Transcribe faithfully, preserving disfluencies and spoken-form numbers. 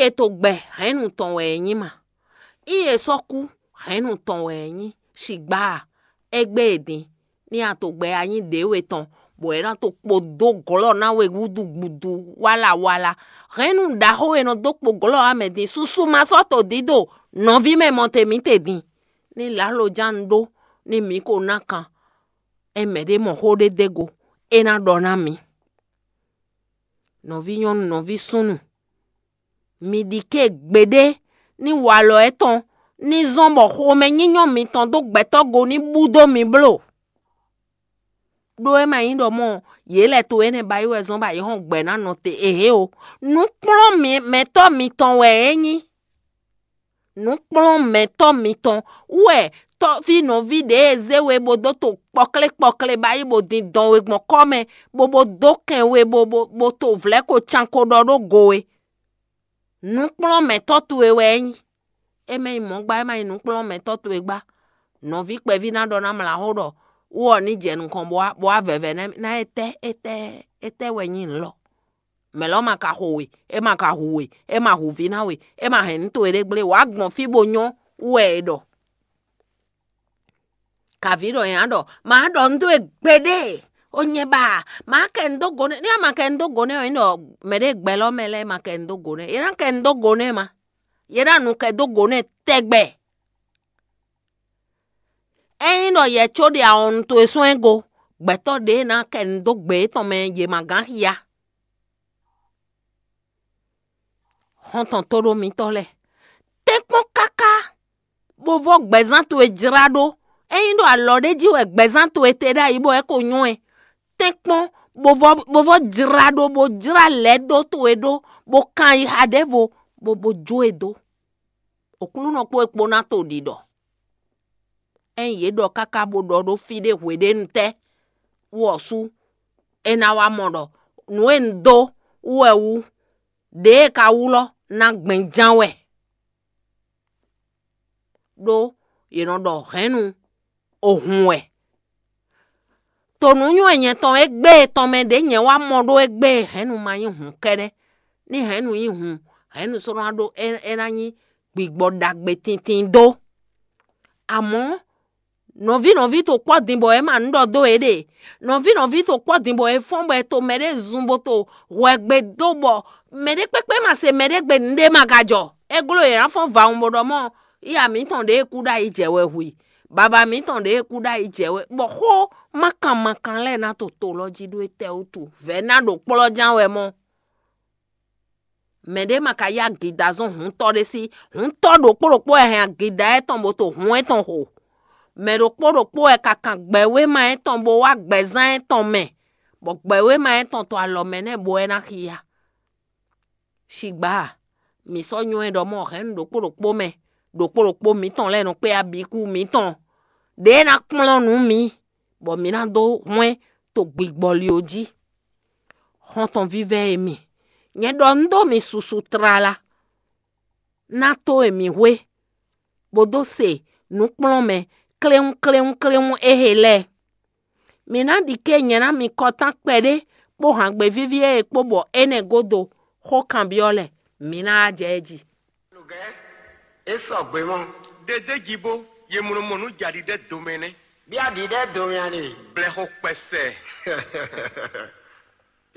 È to gbɛ hɛ̌nnu tɔn wɛ é nyí ma. Í è sɔ́ kú hɛ̌nnu tɔn wɛ é nyí. Sigbǎ a, égbé e din, ní a to gbɛ anyí ɖěwe tɔn, bɔ é ná to kpo dó glɔ́ ná we gúdúgbúdú wálawála. Hɛ̌nnu ɖaxó e nɔ dó kpo glɔ́ ɔ́ mɛ din, susu ma sɔ́ to dídó nɔví mɛ mɔtɛn mǐtɛn din. Ní lǎloján un ɖó, ní mǐ ko ná kan, é mɛɖé mɔ xó ɖé dó go, é ná ɖɔ ná mǐ. Nɔví nyɔ́nu, nɔví súnnu, mi ɖi ké gbeɖé ní walɔ étɔn ní zɔ́n bɔ xomɛnyínyɔ́ mitɔn dó gbɛtɔ́ go ní bú dó mi bló. Ɖó é ma nyí ɖɔ mɔ yě lɛ́ to énɛ́ ba yi wɛ zɔ́n bɔ ayǐ hɔn gbɛ̌ ná nɔ te éhé o. Nǔkplɔ́nmɛtɔ́ mitɔn wɛ é nyí. Nǔkplɔ́nmɛtɔ́ mitɔn wɛ tɔ́ví nɔví ɖě e zé we bó dó to kpɔklé kpɔklé ba yi bó din dɔn we gbɔn kɔ́ mɛ, bó bó dó kɛn we bó bó bó to vlɛ̌ ko can ko ɖɔ ɖó go we. Nǔkplɔ́nmɛtɔ́ towe wɛ é nyí. É mɛ nyí mɔ̌ gbá, é ma nyí nǔkplɔ́nmɛtɔ́ towe gbá. Nɔví kpɛví ná ɖɔ ná mlǎ xó ɖɔ wú ɔ́ ní jɛ nukɔn bó wá bó wá vɛvɛ ná ná étɛ́ étɛ́ étɛ́ wɛ nyí nǔ lɔ. Mɛ̌ lɔ́ ma ka xo we, é ma ka hu we, é ma hu vǐ ná we, é ma hɛn nǔ towe ɖé gblé, wǎ gbɔn fí bó nyɔ́ wú wɛ è ɖɔ. Kavǐ ɖɔ nyɛ á ɖɔ, ma ɖɔ nú we gbeɖé, ó nyɛ ba, ma kɛ nu dó go nɛ́, ní a ma kɛ nu dó go nɛ́ ɔ́, nyí ɖɔ mɛɖé gbɛlɔ́ mɛ lɛ́ɛ ma kɛ nu dó go nɛ́, yě ná kɛ nu dó go nɛ́ ma, yě ná nu kɛ dó go nɛ́ tɛgbɛ. Ényí ɖɔ yɛ có ɖe awɔnnu towe sɔ́ ɛ go, gbɛtɔ́ ɖě ná kɛ nu dó gbe yětɔn mɛ yě ma gán xia. Xɔ́ntɔn tóɖó mitɔ́ lɛ́ɛ, tɛ́nkpɔ́n káká, bó vɔ́ gbɛzán towe jlá ɖó. Ényí ɖo alɔ ɖé jí wɛ gbɛzán towe te ɖ'ayǐ bɔ é ko nyɔ́ ɛ, tɛ́nkpɔ́n, bó vɔ́ bó vɔ́ jlá ɖó, bó jlá lɛ̌ dó towe ɖó, bó kan yixa ɖěvo, bó bó jó e dó. Oklúnɔ kpó é kpó ná to ɖiɖɔ. Ényí yě ɖɔ káká bó ɖɔ ɖó fí ɖé hweɖénu tɛ́ wú ɔ́ sú, é ná wá mɔ ɖɔ nǔ e un dó wú wɛ wú, ɖěe ka wú lɔ́ ná gbɛn ján wɛ. Ɖó yě nɔ ɖɔ hɛ̌nnu, o hun wɛ. To nǔnywɛ́ nyɛ tɔn égbé tɔn mɛ ɖě nyɛ wá mɔ ɖó égbé hɛ̌nnu ma nyí hun kɛ́ɖɛ́. Ní hɛ̌nnu nyí hun, hɛ̌nnu sɔ́ ná ɖó é é ná nyí gbigbɔ ɖagbe tintin dó. Amɔ̌, nɔví nɔví to kpɔ́ din bɔ é ma nǔ ɖɔ dó éɖée. Nɔví nɔví to kpɔ́ din bɔ é fɔ́n bɔ è to mɛɖé zun bó to hwɛ gbe dó bɔ mɛɖé kpékpé ma se mɛɖé gbe nǔɖé ma ka jɔ. É gló yě ná fɔ́n vawun bó ɖɔ mɔ yíya mǐtɔn ɖě e kú ɖ'ayǐ jɛ wɛ hu i. Baba mǐtɔn ɖě e kú ɖ'ayǐ jɛ wɛ bɔ xó mákan mákan lɛ́ɛ ná to to lɔ jí ɖó étɛ́ wútu? Vɛ̌ ná ɖo kplɔ́ ján wɛ mɔ. Mɛɖé ma ka yá agida zɔ́n hǔntɔ́ ɖé sí. Hǔntɔ́ ɖokpó ɖokpó wɛ hɛn agida étɔn bó to hǔn étɔn xo. Mɛ ɖokpó ɖokpó wɛ ka kan gbɛwéma étɔn bó wá gbɛzán étɔn mɛ, bɔ gbɛwéma étɔn to alɔ mɛ nɛ́ bó wɛ ná xia. Sigbǎ, mǐ sɔ́ nywɛ́ ɖɔ mɔ hɛ̌nnu ɖokpó ɖokpó mɛ, ɖokpó ɖokpó mǐtɔn lɛ́ɛ nɔ kpé abikú mǐtɔn ɖě ná kplɔ́n nǔ mǐ, bɔ mǐ ná dó hwɛ́n to gbigbɔli ɔ́ jí. Xɔ́ntɔn vívɛ́ e mi, nyɛ ɖɔ un ɖó mi susu tlala, ná tó e mi hwe, bó dó se nǔkplɔ́nmɛ kléwún kléwún kléwún éhe lɛ́ɛ. Mǐ ná ɖi ké nyɛ ná mi kɔtán kpɛɖé kpó hǎngbe víví e kpó bɔ énɛ́ gúdo xó kanbyɔ́ lɛ́ɛ, mǐ ná wá jɛ é jí. É sɔgbe mɔ. Ɖeɖe jí bó, ye mlɔ mɔ nú jaɖiɖɛ domɛ nɛ́. Bí aɖǐɖɛ domɛ a ɖe? Blɛxɔ kpɛsɛ.